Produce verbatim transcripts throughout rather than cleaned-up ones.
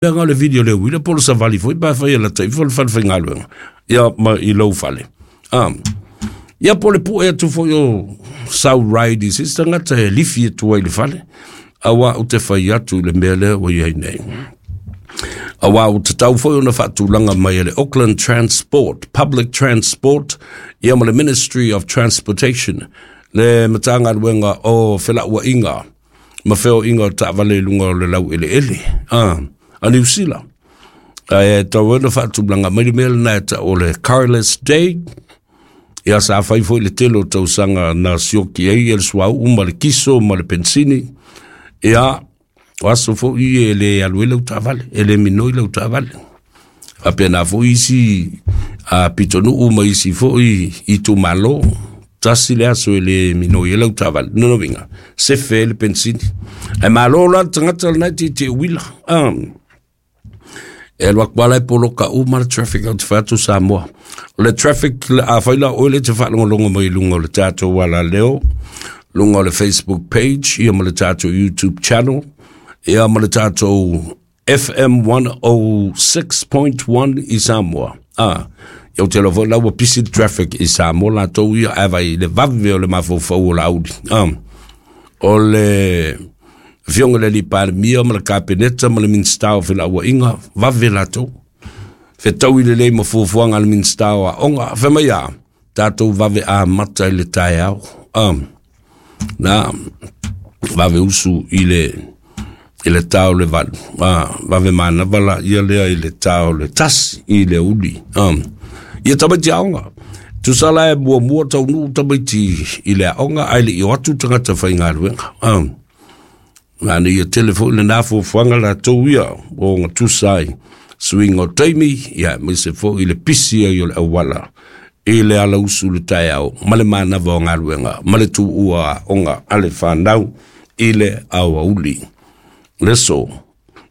Leaga o le vili o le uila po o le savali foi pe afai e lata ifo le fale faigaluega ia ma i lou fale. Ah. Ia po o le pue atu foi o sau ride i se isi tagata e lifi atu ai i le fale, auā ou te fai atu i le mea lea ua i ai nei. Auā ua tatau foi ona faatulaga mai e le Auckland Transport, Public Transport, ia ma le Ministry of Transportation, le Matagaluega o Felauaiga ma Feoaiga o Taavale i luga o le laueleele a, a Niu Sila. Ae tatau ai ona faatulaga mai le mea lena e tau o le Carless Day, ia sa fai foi le tele o tausaga na sioki ai e le suauu ma le kiso ma le pensini, ia o aso foi e le alu ai lau taavale, e le minoi lau taavale. Faapena foi isi a pitonuu ma isi foi itumalo, tasi le aso e le minoi ai lau taavale. Lona uiga, sefe ai le pensini. Ae malo la le tagata lena e tietie uila. Ah. E alu atu lava la e poloka uma le traffic ou te fai atu Samoa. O le traffic, afai la o oe lea e te faalogologo mai i luga o le tatou alaleo, luga o le Facebook page, ia ma le tatou YouTube channel, ia ma le tatou F M one oh six point one i Samoa. Ah, ia ou te iloa foi la ua pisi le traffic i Samoa latou ia, ae vai le vave o le mafaufau o Laauli. Ah, o le Afioga i le Alii Palemia ma le Kapeneta ma le Minisita o Felauaiga, vave latou. Fetaui lelei ma fuafuaga a le Minisita o Aoga. Fai mai a, tatou vave amata i le taeao. Ah, na, vave usu i le, i le tao le valu. Ah, vave manava la ia lea i le tao le tasi i le uli. Ah, ia tamaiti aoga. Tusa la e muamua taunuu tamaiti i le aoga, ae le i o atu tagata faigaluega. Ah, na ia tele foi lena fuafuaga latou ia o gatusa ai suiga o taimi, ia aemaise foi i le pisi ai o le auala i le alausu le taeao ma le manava o galuega ma le tuua aoga a le fanau i le aoauli. Le aso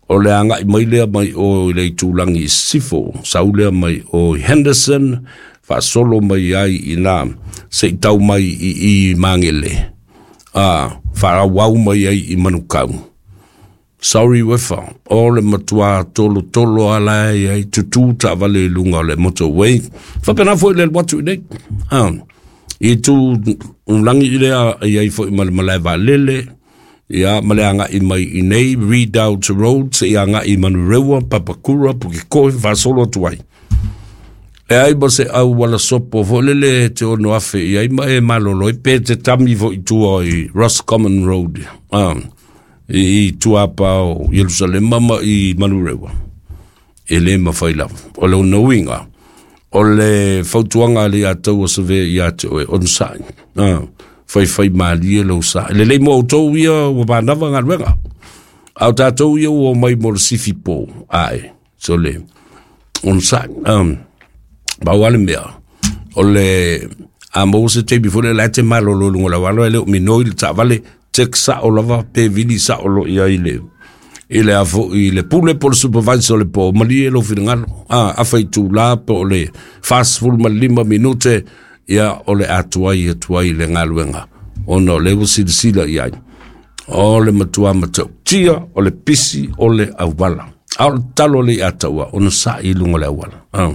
o le agai mai lea mai o i le itulagi i Sisifo, sau lea mai o i Henderson, faasolo mai ai i nā se i tau mai i i Magele, a faaauau mai ai i Manukau. Sorry Wefa, o le matua tolotolo ala ai ai tutū taavale i luga o le motorway. Faapena foi le alu atu i nei. Ah, i tu lagi i lea i ai foi ma le malae vaalele, ia ma le agai mai i nei Redoubt Road se i agai i Manurewa, Papakura, Pukekohe, faasolo atu ai. E ai ma se auala sopo foi lele te ono afe i ai ma e malolo ai pe te tami foi i tua i Roscommon Road, ah, i, i tua pa o Ierusalema ma i Manurewa. E le mawhai lava. O le ona uiga, o le fautuaga a le ia tau o save ia te oe, on sai. Ah, fai fai malie lou sa. Lelei mo outou ia ua manava galuega. A o tatou ia ua omai mo le sifi po. Ae, so le, on sai. Um, pau lava le mea, o le, a maua se taimi foi lea la e te malolo i luga o le auala e le o minoi le taavale, check sao lava pe vili sao loa i ai le, i le a foi le pule po o le supervisor o le po, malie lou finagalo. A, afa itula po o le fasefulu ma le lima minute, ia o le atuai atu ai le galuega, ona o lea ua silasila i ai. O le matua matautia, o le pisi, o le auala. A o le tatalo le ia taua, ona sa'i i luga o le auala. Ah.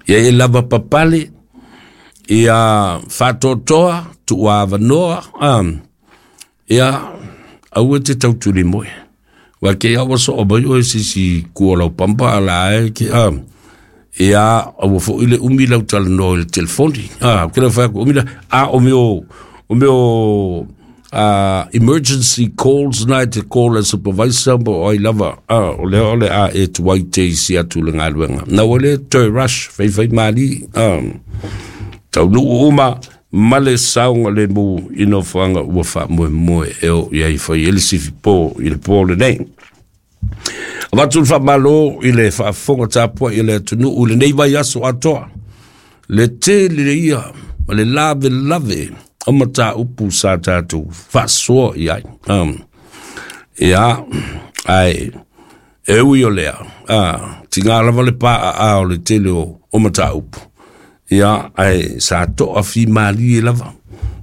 Ia e lava papale, ia faatoatoa, tuua avanoa, ah. Ia, aua te tautuli moe. Wa ke ia ua soo mai oe sisi kua lau pampa ala ai ke, ah. Ia, aua foi le umi lau talanoa i le telefoni. Ah, ke lau whai aku umi la, ah, o meo, o meo, ah, emergency calls na e te call a supervisor mo ai lava, ah, o lea o le a e tuai te isi atu le galuega. Na ua le toe rush, fai fai mali, ah, taunuu uma, ma le saoga le mu i nofoaga ua faamoemoe e oo i ai fai ai le sifi po i le po lenei. Avatu le faamalo i le faafofoga tapuai i le atunuu i lenei vaiaso atoa. Le tele ia ma le lavelave o mataupu sa tatou faasoa i ai. Um, ia, ae, e ui o lea, ah, tiga lava le paaā o le tele o, o mataupu. Ia, ae sa toa fimalie lava.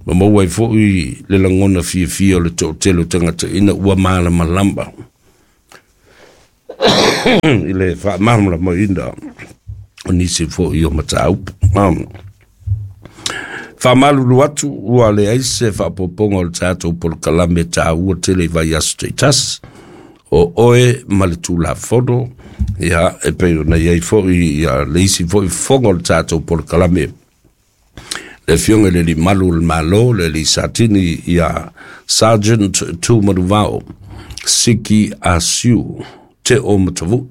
Ma maua ai foi le lagona fiafia o le toatele o tagata ina ua malamalama. I le faamalamalamaina o nisi foʻi o mataupu. Faamalulu atu ua leai se faaopoopoga o le tatou polokalame taua tele i vaiaso taitasi o oe ma le Tulafono, ia e pei ona i ai foʻi ia le isi foʻi fofoga o le tatou polokalame, le afioga i le limalu o le Malo, le alii Satini ia Sergeant Tumanuvao Siki Asiu Te o Matavuʻi,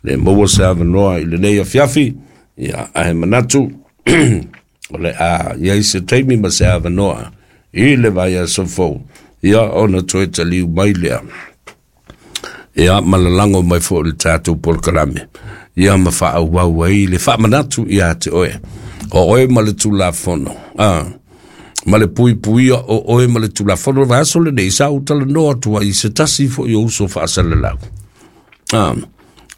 le maua se avanoa i lenei afiafi, ia ae manatu o le a iai se taimi ma se avanoa i le vaiaso fou, ia ona toe taliu mai lea, ia ma lalago mai foʻi le tatou polokalame, ia ma faaauau ai le faamanatu ia te oe o oe ma le Tulafono, a ma le puipuia o oe ma le Tulafono. Vaiaso lenei sa ou talanoa atu ai i se tasi foʻi o uso faasalalau, a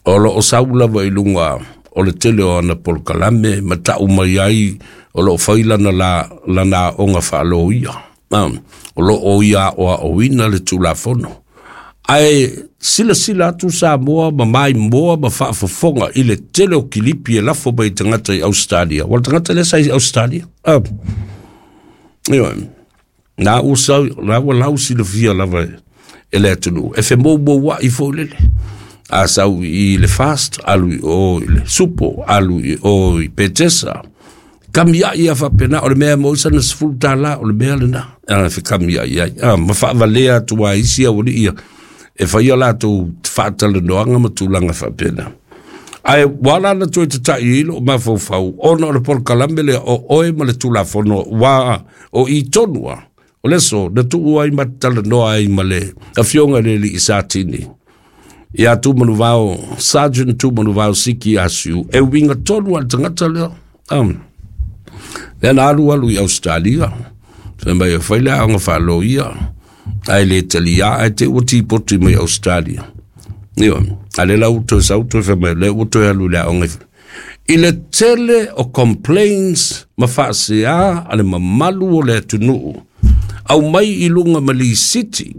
o loo sau lava i luga o le tele o ana polokalame ma taʻu mai ai o loo fai lana la lana aoga faaloia, a o loo ia aoaoina le Tulafono. Ae silasila atu Samoa ma maimoa ma faafofoga i le tele o kilipi e lafo mai tagata i Australia. Ua le tagata lea sa i Australia. Ah. Ioe. Na ua sau, na ua lau silafia lava e le atunuu. E femoumouaʻi foʻi lele. A sau i le Fast, alu i o i le Supo, alu i o i Petesa. Kamiaʻi a faapena, o le mea mo sana sefulu tālā, o le mea lena. A fekamiaʻi ai. A, ma faavalea atu ai isi aualii ia e faia latou faatalanoaga ma tulaga faapena. Ae ua ala na toe tataʻi ai loo mafaufau ona o le polokalame lea o oe ma le Tulafono, ua o i tonu a o le aso na tuu ai ma talanoa ai ma le afioga i le alii Satini ia Tumanuvao, Sergeant Tumanuvao Siki Asiu, e uiga tonu a le tagata lea, um, lea na alu alu i Australia, fai mai e fai le aoga faaloia, ae le taliā, ae te ua tipoti mai Australia. Ioe, a le la ua toe sau toe fai mai, lea ua toe alu i le aoga. I le tele o complaints ma faaseā a le mamalu o le atunuu, aumai i luga ma lisiti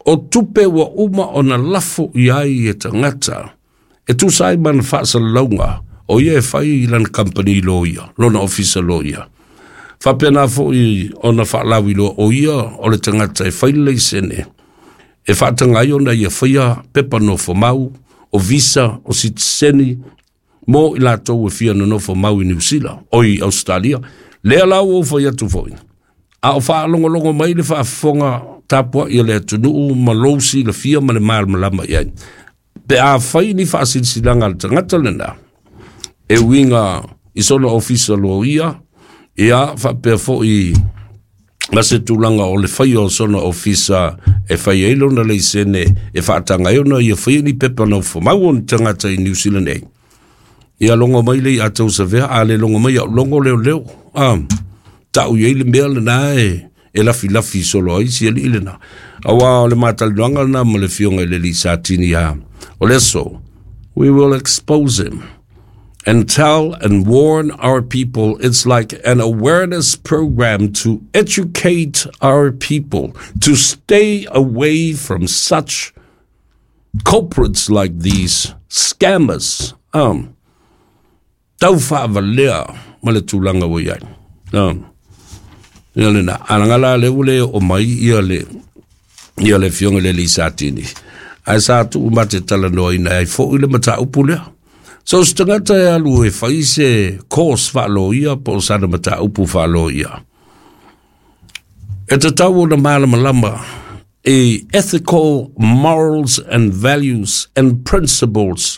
o tupe ua uma ona lafo i ai e tagata, e tusa ai ma na faasalalauga o ia e fai i lana kampani loia, lona ofisa loia. Faapena foʻi ona faalauiloa o ia o le tagata e fai le laisene, e faataga ai ona ia faia pepa nofomau, o visa, o sitiseni, mo i latou e fia nonofo mau i Niusila, o i Australia. Lea la ua ou fai atu foʻi, a o faalogologo mai le faafofoga tapuaʻi a le atunuu ma lou silafia ma le malamalama i ai. Pe a fai ni faasilasilaga a le tagata lena, e uiga i sona ofisa loia, ia faapea foʻi ma se tulaga o le faia o sona ofisa e fai ai lona laisene e faataga ai ona ia faia ni pepa nofomau o ni tagata i New Zealand nei. Ia logo mai le ia tausavea, a le logo mai au logo leoleo. Ah, taʻu i ai le mea lena e e lafilafi solo ai si alii lena. Auā o le matalanoaga lena ma le afioga i le alii Satini a o le aso, we will expose him and tell and warn our people. It's like an awareness program to educate our people to stay away from such culprits like these scammers. Um, tau faavalea ma le tulaga ua i ai. Um, ia lena, alaga la le ua le oo mai ia le ia le afioga i le alii Satini. Ae sa tuu ma te talanoaina ai foʻi le mataupu lea. So se tagata e alu e fai se course faaloia po o sana mataupu faaloia, e tatau ona malamalama e ethical morals and values and principles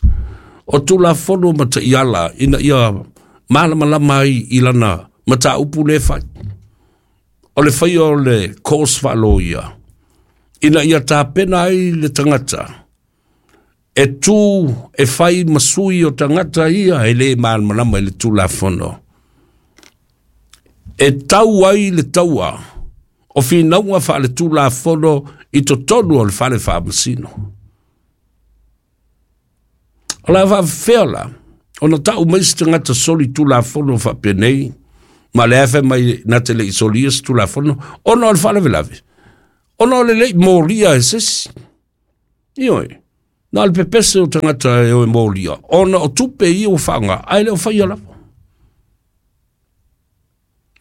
o Tulafono ma taiala ina ia malamalama ai i lana mataupu le fai. O le faia o le course faaloia, ina ia tapena ai le tagata e tū e fai ma sui o tagata ia e le malamalama i le Tulafono. E tau ai le taua o finauga faaletulafono i totonu o le fale faamasino. O le a faafefea la ona taʻu mai se tagata soli tulafono faapenei, ma le afe mai na te leʻi solia se tulafono, ona o le faalavelave, ona o le leʻi molia e sesi. Ioe, Na le pepese o tagata e o e molia, ona o tupe ia ua faaaoga, ae le o faia lava.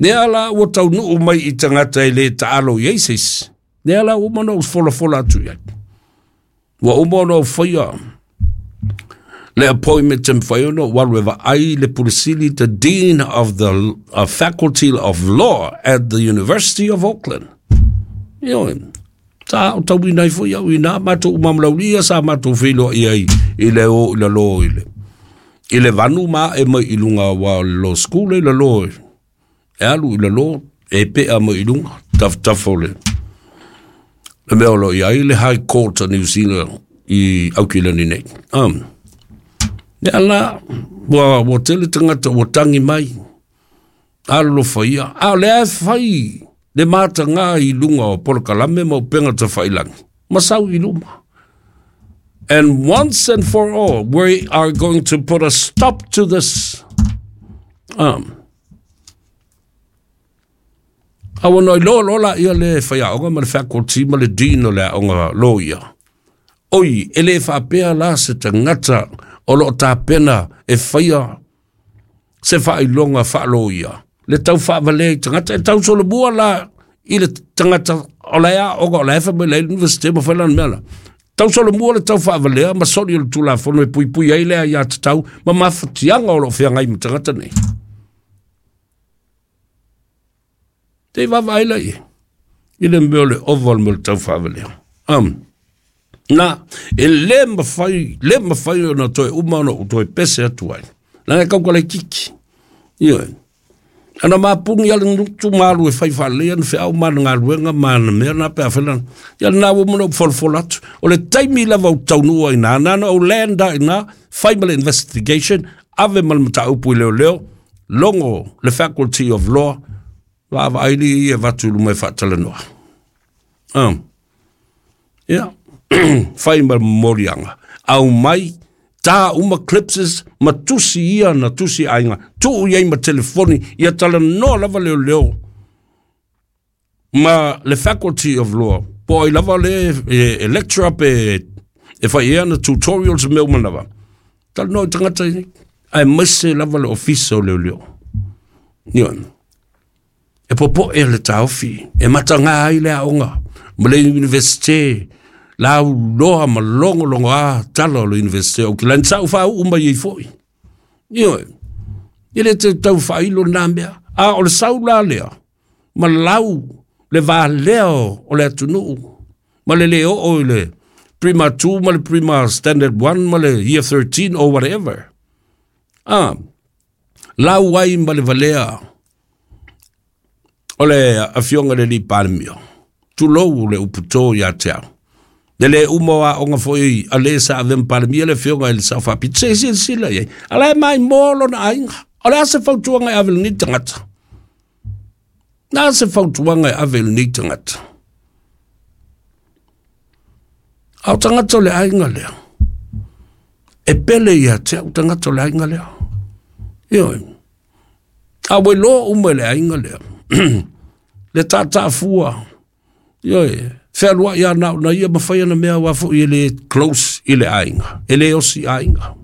Lea la ua taunuu mai i tagata e lē taalo i ai se isi. Lea la ua uma ona ou folafola atu i ai. Ua uma ona ou faia le appointment e mafai ona ou alu e vaai le Pule Sili, the Dean of the uh, Faculty of Law at the University of Auckland. Ioe, sa aotauina ai foi au i ina matou uma ma Laulia sa matou feiloai ai i le o i lalō i le i le vanu ma ae mai i luga aua o le law school e i lalō e alu i lalō e pea mai i luga tafatafa o le le mea o lo o i ai le High Court a New Zealand i Aukilani nei. Um, lea la, ua, ua tele tagata ua tagi mai, alolofa ia, a o lea e fai le matagā i luga o polokalame ma upega tafailagi, ma sau i luma. And once and for all, we are going to put a stop to this. Um, a ua no iloa loa laia le faiaoga ma le faculty ma le dean o le aoga loia. Oi, e le faapea la se tagata o loo tapena e faia se faailoga faaloia. Le tau faavalea i tagata, e tau solomua la i le tagata o la aoga o la e fai mai le university ma fai lana mea la. Tau solomua le tau faavalea ma soli o le Tulafono e puipui ai le aiatatau ma mafatiaga o loo feagai ma tagata nei. Te vaavaai la i i le mea o le ova o le mea o le tau faavalea. Um, na, e lē mafai, lē mafai ona toe uma ona ou toe pese atu ai. Leaga e kaukalaititi. Ioe. Ana mapugi a le gutu ma alu e fai faalelei ana feau ma ana galuega ma ana mea na pe afai lana. Ia lena ua uma ona ou folafola atu. O le taimi lava ou taunuu ai ina, na ona ou land lava i ina, fai ma le investigation, ave ma le mataupu i leoleo, logo le Faculty of Law, vaavaai alii ia e avatu i luma e faatalanoa. Um, ia, fai ma le momoliaga, aumai, tā uma clipses ma tusi ia na tusi aiga, tuu i ai ma telefoni, ia talanoa lava leoleo ma le Faculty of Law, po o ai lava le e, e lecturer pe e fai ea na tutorials ma mea uma lava. Talanoa i tagata nei, aemaise lava le ofisa o leoleo. Ioe. E popoe le taofi, e matagā ai le aoga ma le Universite, lauloa ma logologoā tala o le Universite o Auckland, sa ou faauu mai ai foi. Ioe, e le te tau faailo lena mea, a o le sau la lea, ma lau le valea o le atunuu, ma le le oo i le Prima two ma le Prima Standard one ma le Year thirteen or whatever. Ah, lau ai ma le valea o le afioga i le alii Palemia, tulou le upu to ia te au. Le le uma o aoga foi a le sa ave ma Palemia le afioga i le Sao Faapito, se i silasila i ai. A la e maimoa lona aiga. O le a se fautuaga e ave i lenei tagata? Na a se fautuaga e ave i lenei tagata? A o tagata o le aiga lea, e pele ia te au tagata o le aiga lea. Ioe. A ua iloa uma e le aiga lea, le tataafua, ioe, fealuai lava na o na ia ma fai ana mea aua foi e le close i le aiga, e le osi aiga.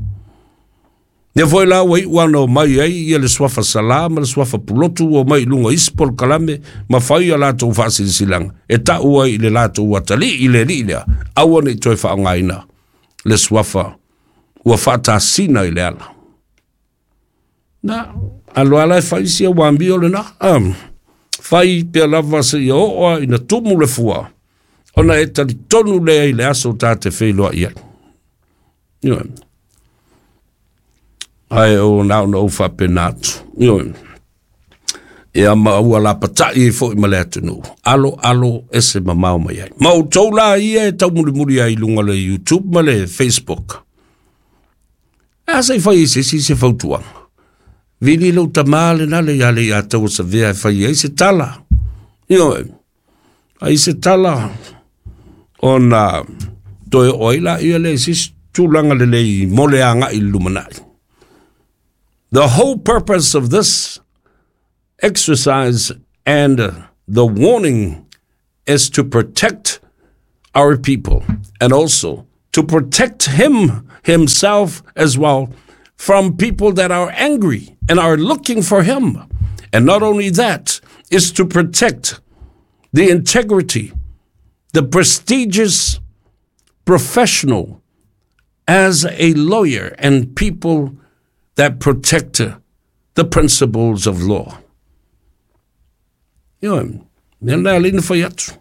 Lea foi la ua iu ana omai ai ia le suafa Salā ma le suafa Pulotu ua omai i luga o isi polokalame ma fai a latou faasilasilaga e tau ai i le latou atalii i le alii lea, aua ne i toe faaaogaina le suafa ua faatasina i le ala. Na, alo ala e fai sia ua amio lena, um, fai pea lava seia oo lava ina tumu le fua, ona e talitonu lea i le aso ta te feiloai ai. Ioe. Ae o na ona ou faapena atu. Ioe. Ia ma ua lapatai ai foi ma le atunuu. Alo, alo, ese mamao mai ai. Ma outou la ia e taumulimuli ai i luga o le YouTube ma le Facebook. E a se i fai ai se isi se fautuaga? Vili lou tamā lena le ia le ia taua savea e fai ai se tala. Ioe, ai se tala ona toe oo ai laia lea i se isi tulaga lelei mo le agai i le lumanai. The whole purpose of this exercise and the warning is to protect our people and also to protect him himself as well from people that are angry and are looking for him. And not only that, is to protect the integrity, the prestigious professional as a lawyer and people that protect the principles of law. Ioe, mea lena e ala ai ona fai atu.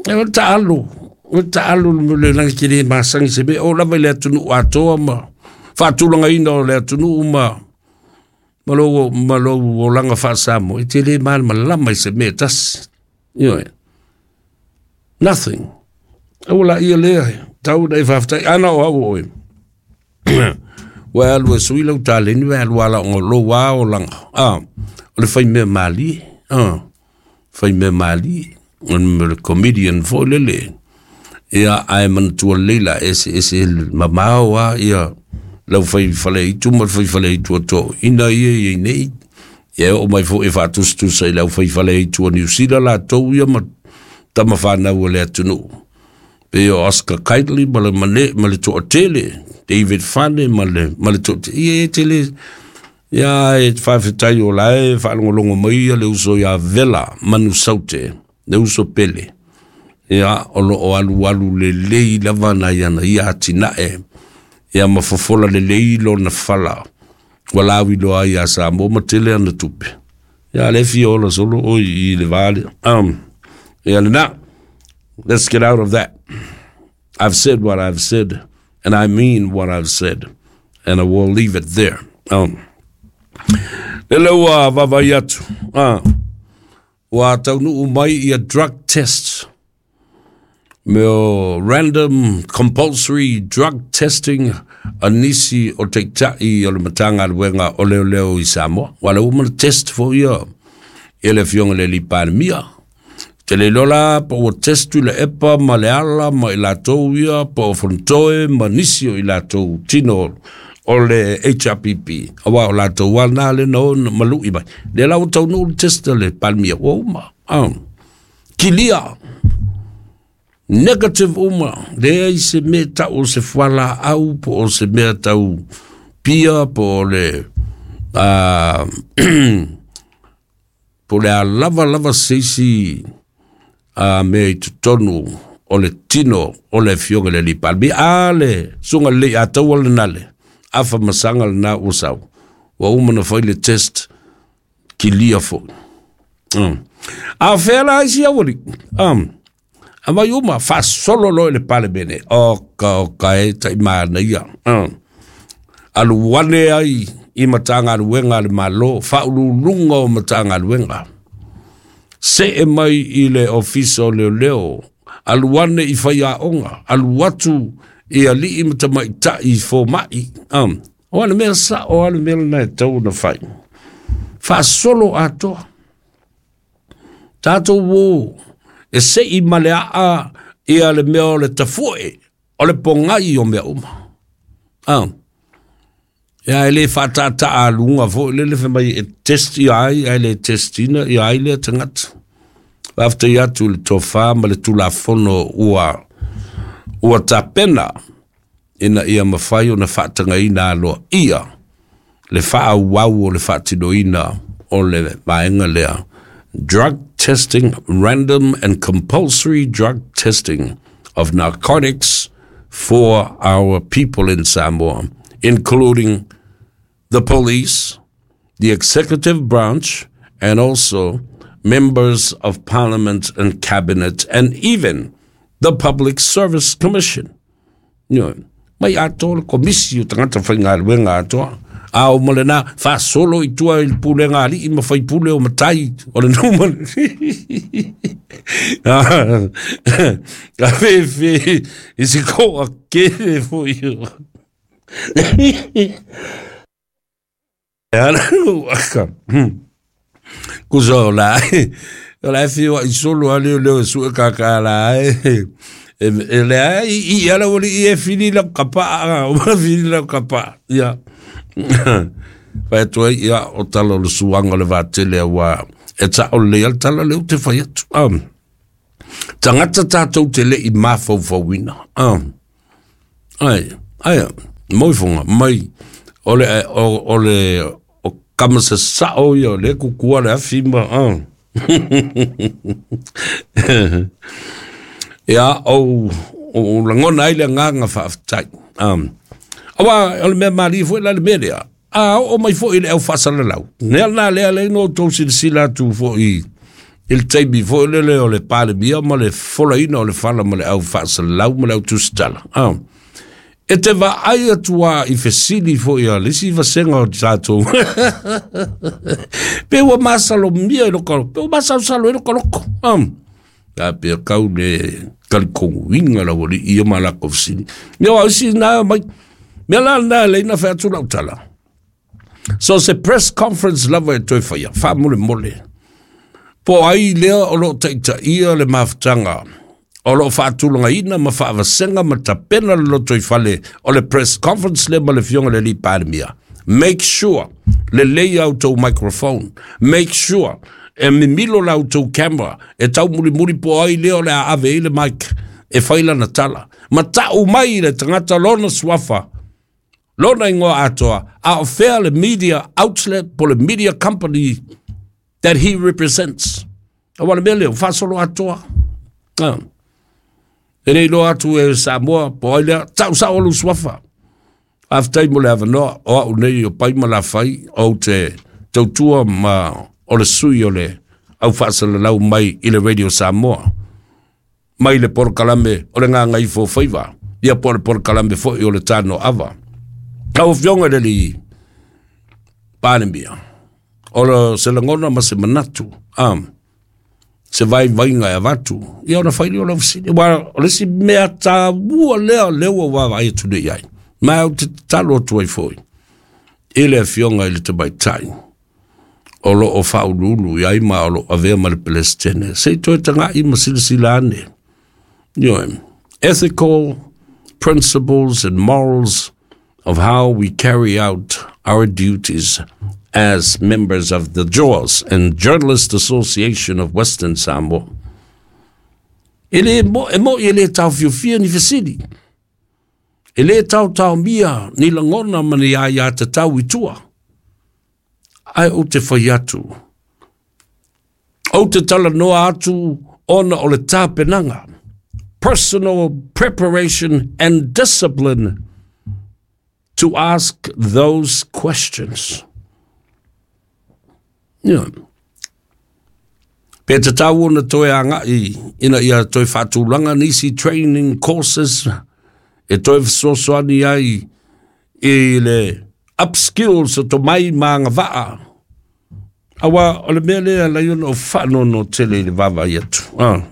E o le taalu, o le taalu le lagi te le masani se mea, o lava i le atunuu atoa ma faatulagaina o le atunuu ma ma lou, ma lou olaga faa-Samoa, e te le malamalama i se mea e tasi. Ioe. Nothing. Aua laia lea, tau ona e faafetai. Ana o au o oe. Ua e alu e sui lau taleni, ua e alu ala o lou lava olaga. Ah, o le faimea malie. Ah, faimea malie. O le comedian foi lele. Ia, ae manatua lelei la eseese mamao lava ia lau fai faleaitu ma le fai faleaitu a toeaiina ia e i ai nei. Ia e oo mai foi e faatusatusa i le aufai faleaitu a Niu Sila latou ia ma tama fanau a le atunuu. Pei o Oscar Kightley ma le mane ma le toatele, David Fane ma le ma le toatele. Ia e tele ia e faafetai o la e faalogologo mai ia le uso ia Vela Manusaute, le uso pele. Ia o lo o alualu lelei lava nai ana ia atinae. Ia ma fofola lelei lona fala ua lauiloa ai ia Samoa ma tele ana tupe. Ia le fia ola solo oi i le va lea. Um, ia lena, let's get out of that. I've said what I've said, and I mean what I've said, and I will leave it there. Um, lele ua vaavaai atu, ah, ua taunuu mai ia drug test mea o random compulsory drug testing a nisi o taitai o le Matagaluega o Leoleo i Samoa. Ua le uma na test foi ia e le Afioga i le Alii Palemia. Te le iloa la po ua test Tuilaepa ma Leala ma i latou ia po o Fonotoe ma nisi o i latou tino o le H R P P. Aua o latou lava na le na o na malu'i mai. Lea la ua taunuu le test a le Palemia ua uma. Ah. Kilia. Negative uma, leai se mea tau o se fualaau po o se mea tau pia po o le uh, po le a lava lava se isi uh, mea i totonu o le tino o le Afioga i le Alii Palemia. A le susuga lelei a taua lena le afa masaga lena ua sau. Ua uma na fai le test kilia foi. Mm. A fea la isi auali? Um, Aumai uma, faasolo loa i le Palemene. Oka, oka e tai manaia. Mm. Alu ane ai i Matagaluega a le Malo, faauluuluga o Matagaluega. See mai i le Ofisa o Leoleo, alu ane i faiaoga, alu atu i alii ma tamaitai i fomai. Um, o a le mea sao, a le mea lena e tatau ona fai. Faasolo atoa. Tatou o e sei ma le aa ia le mea o le tafu'e, o le pogai o mea uma. Ah. Ia e le faataataa aluga foi lele fai mai e test ia ai, ae le testina ia ai lea tagata. Faafetai atu i le tofa ma le Tulafono ua ua tapena ina ia mafai ona faatagaina aloaia le faaauau o le faatinoina o le vaega lea. Drug testing, random and compulsory drug testing of narcotics for our people in Samoa, including the police, the executive branch, and also members of parliament and cabinet, and even the Public Service Commission. Ioe. Mai atoa le komisi o tagata faigaluega atoa. A o ma lena, faasolo i tua i le pulega a alii ma faipule o matai o le nuu ma le Ka fefe i se koa kele foi o. E ana aka. Kusa o la o la e whiua i solo a leo leo e sue kaka la e. E, e le ai i ala wali i e whiri lau kapaa, o ma whiri lau kapaa. Ia. Whai atu ai, ia, o tala o le suanga o le vatele a wā. E ta o le al tala le ute whai atu. Um, tangata tātou te le i mafaufauina. Um, Ai, ai, moifonga, mai, o le, o, o le, o kamasa sao ia, le kukua le afi ma, ah. Ia, o, o langona ai le nganga whaaftai. Um, awa, o le mea maali fo la le mea lea. A o mai fo i le au faasalalau. Nea na lea le no tau silasila atu fo i i le taimi fo le le o le palemia ma le folaina o le fala ma le au faasalalau ma le au tusitala. Um, e te vaai atu a i fesili fo ia le isi vasenga o tatou. Pe ua masalomia i loko, pe ua masalosalo i loko loko. Um, a pe kau le kalikonguinga la wali ia ma la fesili. Mea wa isi na mai, mea la na le ina whea atu lau tala. So se press conference lava e toi whaia, wha mole mole. Po ai lea o lo taita ia le mafutanga, o lo whaatulanga ina ma whaavasenga ma tapena le loto i whale o le press conference le ma le fionga le li palemia. Make sure le lei au tau microphone. Make sure e mimilo la au camera, e tau muri muri po ai lea o le a ave i le mic, e whaila na tala. Ma tau mai le tangata lona suafa, lona ingoa atoa, a o fea le media outlet po le media company that he represents. A wale mea leo, whasolo atoa. Ah. E nei loa atu e Samoa, po ai lea, tau sao lu suafa. Aftai mo le avanoa, o au nei o pai ma la whai, o te tautua ma o le sui o le au faasalalau mai i le Radio Samoa. Mai le porokalame o le nganga i fōfaiva. Ia po le porokalame foi o le tano ava. Kau fionga le li palemia. O le se langona ma se manatu. Um, se vai vainga e avatu. Ia ona whaili o lau fesili. Wa o le si mea tāua lea lea ua vai atu nei ai. Ma au te talo atu ai foi. I le fionga i le tamaitai. O lo o whaululu i ai ma o lo avea ma le Palestine. Se i toe tanga i ma silasila ane. You know, ethical principles and morals of how we carry out our duties as members of the J A W S and Journalist Association of Western Samoa. E le mo, e mo i le tau fiofia ni fesili. E le tau tau mia ni langona ma ni ai a te tau i tua. Ai o te whai atu. O te tala noa atu ona o le tāpenanga. Personal preparation and discipline to ask those questions. Yeah. Pe te tau ona toe anga i, ina ia toe whātūlanga nisi training courses e toe whasosoani ai i le upskills o to mai maanga vaa. Awa o le mea lea lai ona o whaanono tele i le vava i atu. Ah.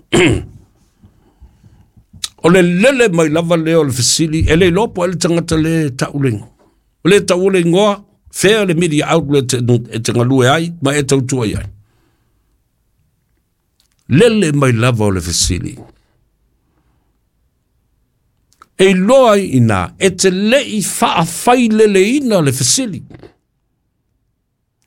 O le lele mai lava lea o le fesili, e le lopo e le tangata le taulengo. O le tau le ngoa, fea le media outlet e te ngalue ai, ma e tautua ai. Lele mai lava o le fesili. E loa ina, e te lei whaawhai lele ina le fesili.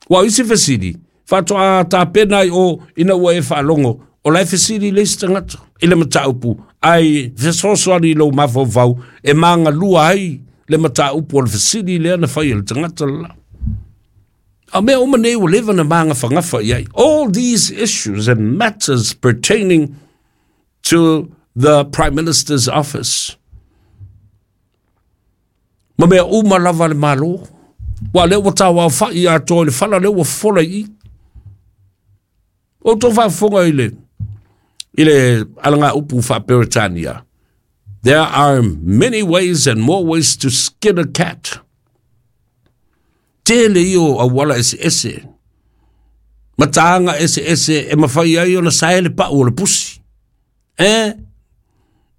Wa isi fesili, whatoa tā pēnai o ina ua e whaalongo, o lai fesili le isi tangata, i le mataupu, ai fesoasoani i lou mafaufau, e magalua ai le mataupu o le fesili lea na fai e le tagata la. A mea uma nei ua leva na magafagafa i ai. All these issues and matters pertaining to the Prime Minister's office. Ma mea uma lava le malo. Wa lea ua tāwā whai atoa i le whala lea ua fola i. O tō whaafonga i le, i le alanga upu wha-Peretania. There are many ways and more ways to skin a cat. Tele io a wala ese ese. Mataanga ese ese e mawhai ai o na saele pa o le pusi. Eh?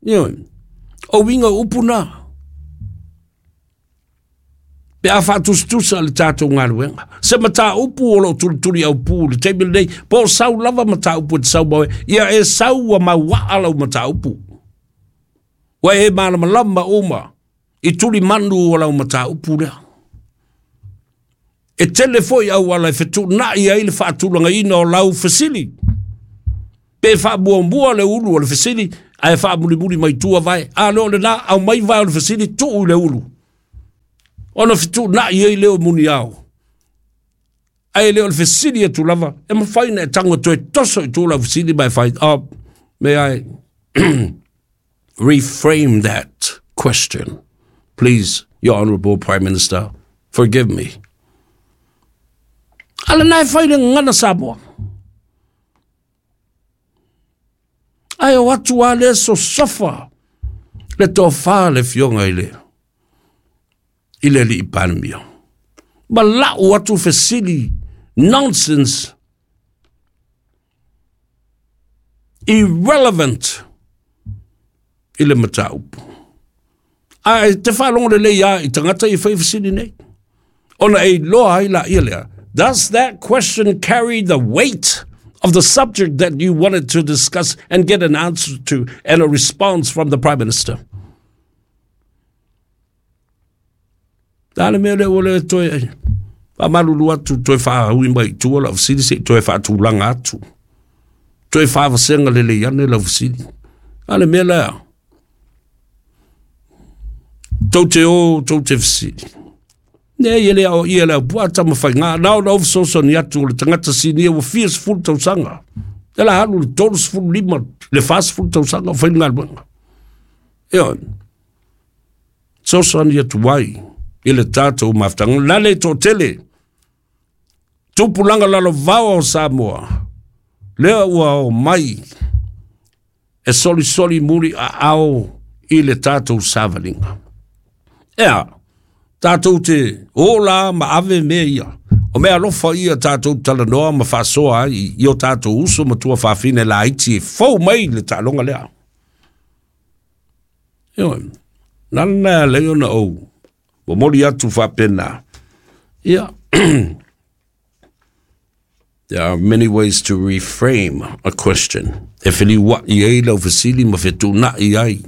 Io. O winga upu na. Pe a whaatustusa le tātou ngāluenga. Se mata upu o lo turi au pū le teimi nei, po sau lava mata upu e te sau mawe. Ia e sau a mauaa lau mata upu. Wa e malamalama uma i tuli manu o lau mata upu lea. E tele foi au ala e fetuunai ai le faatulagaina o lau fesili. Pe faamuamua le ulu o le fesili, Ae faamulimuli mai tua vae. A lea o lenā, aumai vae o le fesili tuu i le ulu. Ona fetuunai ai lea o muniao. Ae le o le fesili atu lava, e mafai ona e tago e toe toso i tua lau fesili ma e fai, oh, may I reframe that question? Please, Your Honourable Prime Minister, forgive me. A lena e fai le gagana Samoa. Ae o atu lava lea sosofa le tofa le afioga i le i le alii Palemia. Ma lau atu fesili nonsense irrelevant i le mataupu. Ae te faalogo lelei lava i tagata ia e fai fesili nei. Ona e iloa ai laia lea. Does that question carry the weight of the subject that you wanted to discuss and get an answer to and a response from the Prime Minister? Le a le mea lea ua le toe faamalulu atu, toe faaui mai i tua lau fesili se i toe faatulaga atu. Toe faavasega lelei ane lau fesili. A le mea lea, tou te o, tou te fesili. Nei, e le aoaia e le aupua tama faiga, na ona ou fesoasoani atu o le tagata sinia ua fia sefulu tausaga. E la alu le tolu sefulu lima, le fa sefulu tausaga o fai le galuega. Ioe, fesoasoani atu ai i le tatou mafutaga. La le toatele, tupulaga lalovaoa o Samoa, lea ua o mai e solisoli muli aao i le tatou savaliga. Ea, tatou te o la ma ave mea ia. O mea alofa ia tatou talanoa ma faasoa ai i o tatou uso ma tuafafine laiti e fou mai le taaloga lea. Ioe, na lena e alai ona ou momoli atu faapena. Ia, there are many ways to reframe a question. E feliua'i ai lau fesili ma fetuuna'i ai.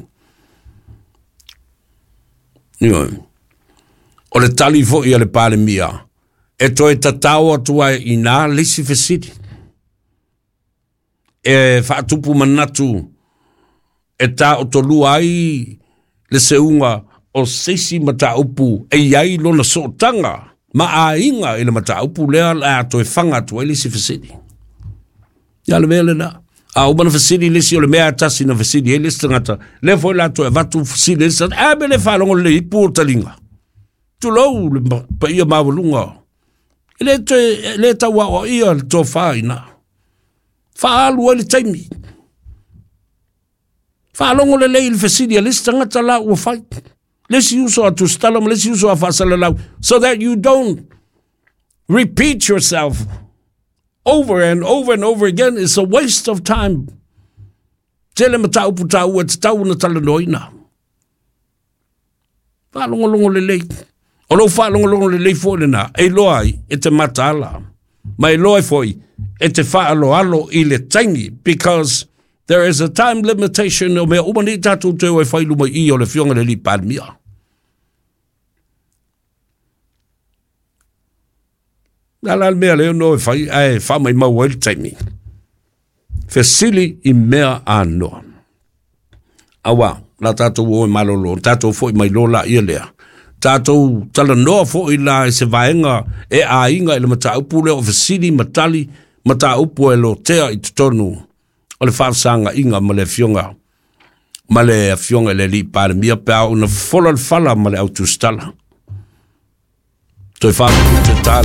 Ioe. O le tali foi a le Palemia, e toe tatao atu ai i nā le isi fesili. E faatupu manatu e taotolua ai le seuga o se isi mataupu e i ai lona sootaga ma aiga i le mataupu lea o le a toe faga atu ai le isi fesili. Ia le mea lena. A uma na fesili le isi, o le mea lava tasi na fesili ai le isi tagata, lea foi o le a toe avatu fesili le isi tagata, a mea le faalogo lelei i pu o taliga. Tulou le paia maualuga. E le toe, e le tau aoaia le tofa i ina. Faaalu ai le taimi. Faalogo lelei i le fesili a le isi tagata la ua fai. Le isi uso a Tusitala ma le isi uso a Faasalalau, so that you don't repeat yourself over and over and over again. It's a waste of time. Tele mataupu taua e tatau ona talanoaina. Faalogologo lelei. O lou faalogologo lelei foi lena, e iloa ai e te mataala, ma e iloa ai foi e te faaaloalo i le taimi, because there is a time limitation o mea uma nei tatou te o e fai i luma i i o le Afioga i le Alii Palemia. Le a la le mea lea no e fai ae faamaimau ai le taimi? Fesili i mea anoa. Aua, la tatou o e malolo, tatou foi mai loa laia lea. Tatou talanoa foi la i se vaega e aiga i le mataupu lea o fesili ma tali mataupu e lotea i totonu o le faafesagaiga ma le afioga ma le afioga i le Alii Palemia pe a oo ina fofola le fala ma le au tusitala. Toe faamutu te tala.